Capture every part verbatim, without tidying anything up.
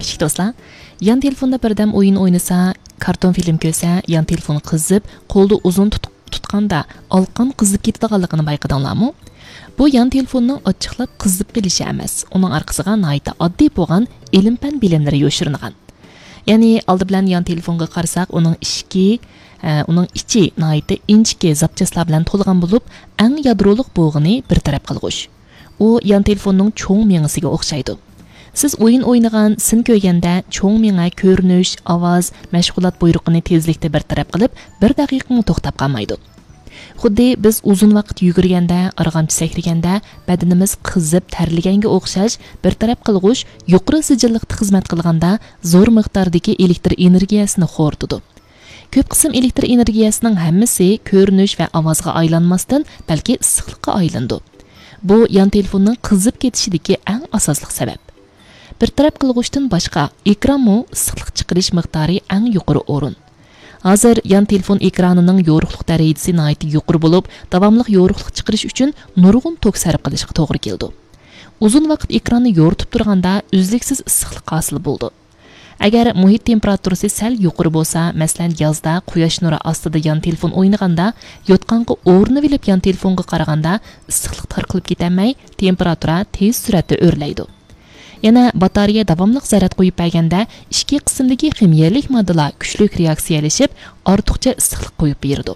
كىچىك دوستلار، يان تېلېفوندا بىردەم ئويۇن ئوينىسا، كارتون فىلىم كۆرسە، يان تېلېفون قىزىپ، قولدا ئۇزۇن تۇت-، تۇتقاندا ئالىقان قىزىپ كېتىدىغانلىقىنى بايقىدىڭلارمۇ؟ بۇ يان تېلېفوننىڭ ئاچچىقلاپ قىزىپ قېلىشى ئەمەس، ئۇنىڭ ئارقىسىغا ناھايىتى ئاددىي بولغان ئىلىم-پەن بىلىملىرى يوشۇرۇنغان. يەنى ئالدى بىلەن يان تېلېفونغا قارىساق، ئۇنىڭ ئىچكى، ئە، ئۇنىڭ ئىچى ناھايىتى ئىنچىكە زاپچاسلار بىلەن تولغان بولۇپ، ئەڭ يادرولۇق بولغىنى بىر تەرەپ قىلغۇچ. ئۇ يان تېلېفوننىڭ چوڭ مېڭىسىگە ئوخشايدۇ. سىز ئويۇن ئوينىغان، سىن كۆرگەندە چوڭ مېڭە كۆرۈنۈش، ئاۋاز، مەشغۇلات بۇيرۇقىنى تېزلىكتە بىر تەرەپ قىلىپ، بىر دەقىقىمۇ توختاپ قالمايدۇ. خۇددى بىز ئۇزۇن ۋاقىت يۈگۈرگەندە، ئارغامچا سەكرىگەندە بەدىنىمىز قىزىپ تەرلىگەنگە ئوخشاش، بىر تەرەپ قىلغۇچ يۇقىرى سىجىللىقتا خىزمەت قىلغاندا زور مىقداردىكى ئېلېكتر ئېنېرگىيەسىنى خورىتىدۇ. كۆپ قىسىم ئېلېكتر ئېنېرگىيەسىنىڭ ھەممىسى كۆرۈنۈش ۋە ئاۋازغا ئايلانماستىن، بەلكى ئىسسىقلىققا ئايلىنىدۇ. بۇ يان تېلېفوننىڭ قىزىپ كېتىشىدىكى ئەڭ ئاساسلىق سەۋەب. بىر تەرەپ قىلغۇچتىن باشقا، ئېكرانمۇ ئىسسىقلىق چىقىرىش مىقدارى ئەڭ يۇقىرى ئورۇن. ھازىر يان تېلېفون ئېكرانىنىڭ يورۇقلۇق دەرىجىسى ناھايىتى يۇقىرى بولۇپ، داۋاملىق يورۇقلۇق چىقىرىش ئۈچۈن نۇرغۇن توك سەرپ قىلىشقا توغرا كېلىدۇ. ئۇزۇن ۋاقىت ئېكراننى يورۇتۇپ تۇرغاندا ئۈزلۈكسىز ئىسسىقلىق ھاسىل بولىدۇ. ئەگەر مۇھىت تېمپېراتۇرىسى سەل يۇقىرى بولسا، مەسىلەن، يازدا قۇياش نۇرى ئاستىدا يان تېلېفون ئوينىغاندا، يوتقانغا ئورىنىۋېلىپ يان تېلېفونغا قارىغاندا، ئىسسىقلىق تارقىلىپ كېتەلمەي، تېمپېراتۇرا تېز سۈرئەتتە ئۆرلەيدۇ. يەنە باتارېيە داۋاملىق زەرەت قويۇپ بەرگەندە، ئىچكى قىسىمدىكى خىمىيەلىك ماددىلار كۈچلۈك رېئاكسىيەلىشىپ، ئارتۇقچە ئىسسىقلىق قويۇپ بېرىدۇ.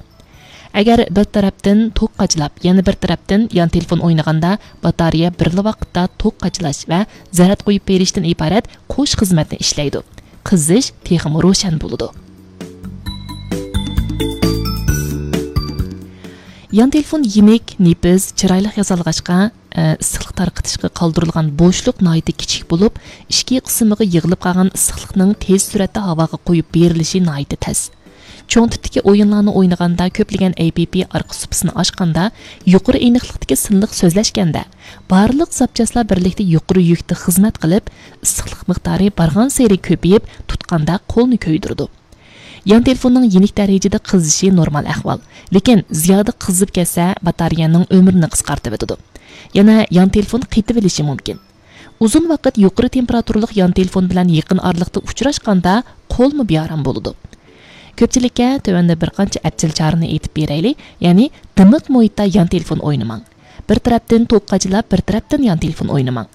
ئەگەر بىر تەرەپتىن توك قاچىلاپ، يەنە بىر تەرەپتىن يان تېلېفون ئوينىغاندا، باتارېيە بىرلا ۋاقىتتا توك قاچىلاش ۋە زەرەت قويۇپ بېرىشتىن ئىبارەت قوش خىزمەتنى ئىشلەيدۇ. قىزىش تېخىمۇ روشەن بولىدۇ. يان تېلېفون يېنىك، نېپىز، چىرايلىق ياسالغاچقا، ئىسسىقلىق تارقىتىشقا قالدۇرۇلغان بوشلۇق ناھايىتى كىچىك بولۇپ، ئىچكى قىسمىغا يىغىلىپ قالغان ئىسسىقلىقنىڭ تېز سۈرئەتتە ھاۋاغا قويۇپ بېرىلىشى ناھايىتى تەس. چوڭ تىپتىكى ئويۇنلارنى ئوينىغاندا، كۆپلىگەن ئەي پى پى ئارقا سۇپىسىنى ئاچقاندا، يۇقىرى ئېنىقلىقتىكى سىنلىق سۆزلەشكەندە، بارلىق زاپچاسلار بىرلىكتە يۇقىرى يۈكتە خىزمەت قىلىپ، ئىسسىقلىق مىقدارى بارغانسېرى كۆپىيىپ، تۇتقاندا قولنى كۆيدۈرىدۇ. يان تېلېفوننىڭ يېنىك دەرىجىدە قىزىشى نورمال ئەھۋال، لېكىن زىيادە قىزىپ كەتسە، باتارېيەنىڭ ئۆمرىنى قىسقارتىۋېتىدۇ. يەنە يان تېلېفون قېتىۋېلىشى مۇمكىن. ئۇزۇن ۋاقىت يۇقىرى تېمپېراتۇرىلىق يان تېلېفون بىلەن يېقىن ئارىلىقتا ئۇچراشقاندا، قولمۇ بىئارام بولىدۇ. كۆپچىلىككە تۆۋەندە بىر قانچە ئەپچىل چارىنى ئېيتىپ بېرەيلى، يەنى دىمىق مۇھىتتا يان تېلېفون ئوينىماڭ. بىر تەرەپتىن توك قاچىلاپ، بىر تەرەپتىن يان تېلېفون ئوينىماڭ.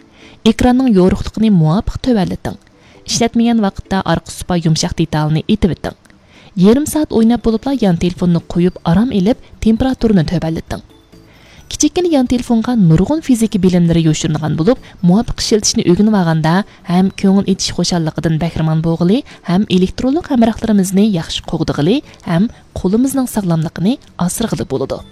ئېكراننىڭ يورۇقلۇقىنى مۇۋاپىق تۆۋەنلىتىڭ. ئىشلەتمىگەن ۋاقىتتا ئارقا سۇپا يۇمشاق دېتالىنى ئېتىۋېتىڭ. يېرىم سائەت ئويناپ بولۇپلا يان تېلېفوننى قويۇپ، ئارام ئېلىپ، تېمپېراتۇرىنى تۆۋەنلىتىڭ. كىچىككىنە يان تېلېفونغا نۇرغۇن فىزىكا بىلىملىرى يوشۇرۇنغان بولۇپ، مۇۋاپىق ئىشلىتىشنى ئۆگىنىۋالغاندا ھەم كۆڭۈل ئېچىش خۇشاللىقىدىن بەھرىمەن بولغىلى، ھەم ئېلېكترونلۇق ھەمراھلىرىمىزنى ياخشى قوغدىغىلى، ھەم قولىمىزنىڭ ساغلاملىقىنى ئاسرىغىلى بولىدۇ.